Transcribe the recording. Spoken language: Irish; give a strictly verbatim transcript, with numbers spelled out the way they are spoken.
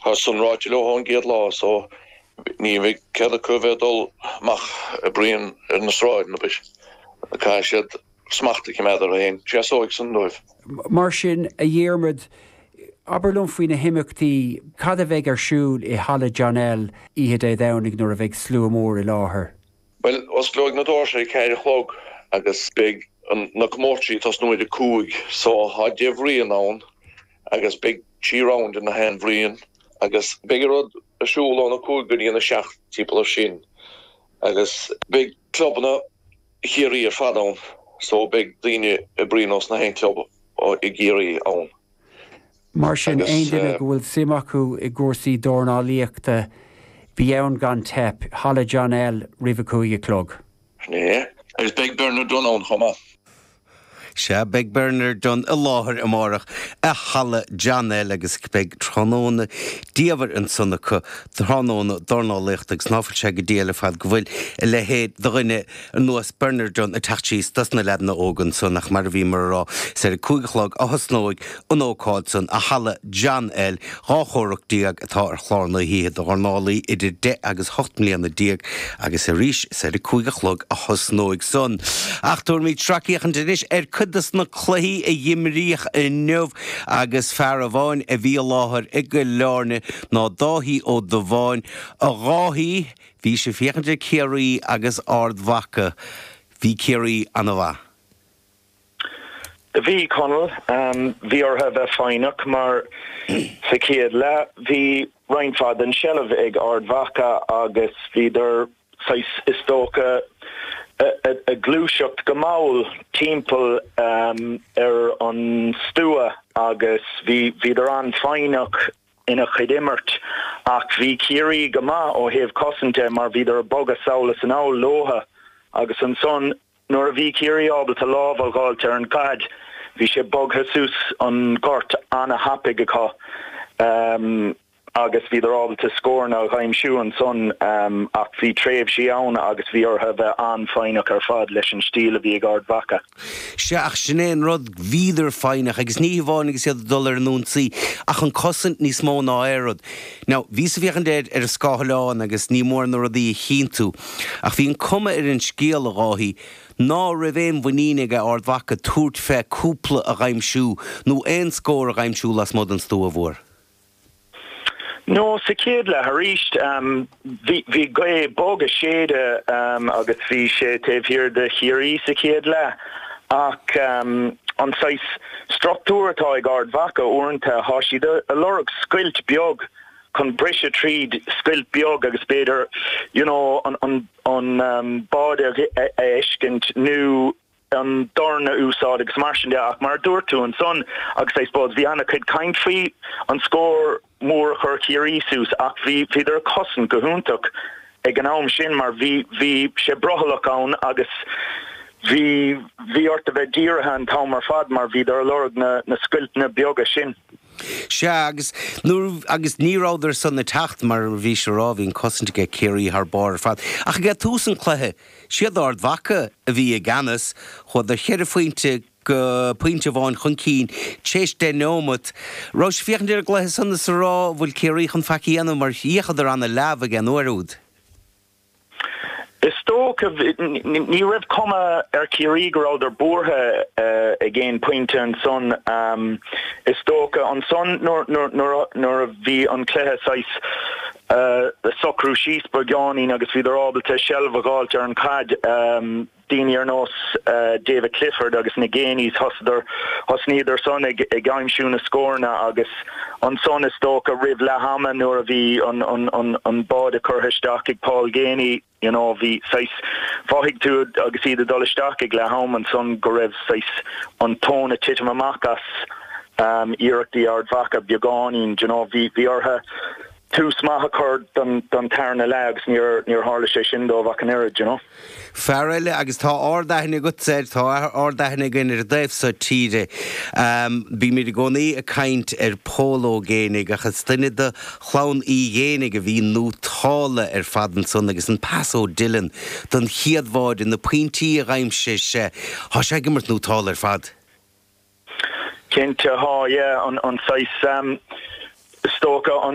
Tá san ráite leo ón gcéad lá so ní bheidh cead acu bheith dul amach ag bruíon ar na sráideanna bis. Caithfidh siad smacht a choimeád orthu féin. Seasóidh san dóibh. Mar sin, a Dhiarmuid, abair liom faoi na himeachtaí, cad a bheidh ar siúl i Halla John L oíche Dé Domhnaigh nuair a bheidh slua mór i láthair? Bhuel, osclóidh na doirse ag ceathair a chlog agus beidh na comórtaisí ag tosnú ar a cúig so tá deich bhruíon ann agus beidh trí round de na haon bhruíon agus beidh an rud ar siúl ón a cúig go dtí an a seacht timpeall ar sin agus beidh clubanna Chiarraí ar fad ann so beidh daoine ag bruíon ós na haon club i gCiarraí ann. Mar sin, aon duine go bhfuil suim acu i gcúrsaí dornálaíochta, bí ann gan teip, Halla John L roimh a cúig a chlog. Sin é. Agus beidh Bernard Dunne ann chomh maith. Sea, beidh Bernard Dunne i láthair amárach i Halla John L agus beidh tráthnóna diamhair ansan acu, tráthnóna dornálaíochta agus ná fuil sé go diail ar fad go bhfuil a leithéid de dhuine ar nós Bernard Dunne ag teacht síos dos na leaideanna óga ansan ach mar a bhíomar a rá, is ar a cúig a chlog a thosnóidh an ócáid san i Halla John L. Dhá chomhrac déag atá ar chlár na hoíche do dhornálaí idir deich agus hocht mbliana déag agus arís is ar a cúig a chlog a thosnóidh san. Ach tabharfaimid sracfhéachaint anois ar cuid des na cluichí a imríodh inniu agus fear amháin a bhí i láthair i gCill Airne ná Dáithí Ó Dubháin. A Dháithí, bhís ag féachaint ar Ciarraí agus Ard Mhacha. Bhí Ciarraí ana-mhaith. Bhí, Conall. Bhí orthu a bheith foighneach mar sa chéad leath bhí roinnt mhaith den tseilbh ag Ard Mhacha agus bhíodar saghas, is dócha, ag gluaiseacht go mall timpeall ar an stua agus bhí bhíodar an-fhoighneach ina chuid imirt ach bhí Ciarraí go maith ó thaobh cosaint de mar bhíodar ag bogadh sall is anall leotha agus ansan nuair a bhí Ciarraí ábalta lámh a dh'fháilt ar an gcaid bhí sé bogtha suas an gort ana-thapaidh acu. Agus bhíodar ábalta scóranna a dh'aimsiú ansan ach bhí tréimhsí ann agus bhí orthu a bheith an-fhoighneach ar fad leis an stíl a bhí ag Ard Mhacha. Sea, ach sin é an rud, bhíodar foighneach agus ní hamháin agus iad ag dul ar an ionsaí ach an cosaint níos mó ná aon rud. Now, bhíos ag féachaint air ar an scáileán agus ní mór na rudaí a chinntiú ach bhí an cuma ar an scéal, a Dháithí, ná raibh aon mhuinín ag Ard Mhacha tabhairt fé cúpla a dh'aimsiú nó aon scór a dh'aimsiú lasmuigh den stua mhór. No, sa chéad leath arís, bhí bhí gaoth bog ag séideadh agus bhí sé taobh thiar de Chiarraí sa chéad leath ach an saghas struchtúr atá ag Ard Mhacha uaireanta, thá siad a lorg scoilt beag chun briseadh tríd, scoilt beag agus b'fhéidir you know an an an báide a fheiscint nó an dorn a úsáid agus mar sin de ach mar a dúirt tú ansan agus I suppose bhí ana-chuid caint faoi an scór mór a chuir Ciarraí suas ach bhí bhíodar ag cosaint go hiontach ag an am sin mar bhí bhí sé brothallach ann agus bhí bhí ort a bheith dírithe an t-am ar fad mar bhíodar ag lorg na na scoilteanna beaga sin. Sea, agus nuair, agus ní rabhadar san ag teacht, mar a bhís a rá, bhí an cosaint aige Ciarraí thar barr ar fad. Ach ag tús an chluiche, siad Ard Mhacha a bhí i gceannas, chuadar cheithre phointe go pointe amháin chun cinn tar éis deich neomat. Rabhais ag féachaint ar an gcluiche san is a rá, bhfuil Ciarraí chun faic a dhéanamh mar d'fhéachadar ana-leamh ag an uair úd. Is dócha, ní raibh cuma ar Chiarraí go rabhadar buartha ag aon pointe ansan. Is dócha ansan nuair a bhí an cluiche saghas ag socrú síos beagáinín agus bhíodar ábalta seilbh a dh'fháilt ar an chaid, Daoine ar nós David Clifford agus na Geaneys, thosadar, thosnaíodar san ag aimsiú na scóranna agus ansan is dócha roimh leath ama nuair a bhí an an an báide curtha isteach ag Paul Geaney, you know, bhí saghas, mhothaigh tú agus iad ag dul isteach ag leath am ansan go raibh saghas an tóin ag titim amach as iarrachtaí Ard Mhacha beagáinín, do you know, bhí bhí orthu tús maith a chur don don tarna leath agus níor níor tharla sé sin dóibh ach an oiread, you know. Fear eile, agus tá ard-aithne agat air, tá ard-aithne againn ar an dtaobh so tíre. Bímid i gcónaí ag caint ar Phól Ó Géibheannaigh ach is duine de chlann Uí Ghéibheannaigh a bhí nótálta ar fad ansan agus an pas ó Dylan don chéad bháide, na pointí a dh'aimsigh sé, tá sé ag imirt nótálta ar fad. Cinnte, tá, yeah, an an saghas, is dócha an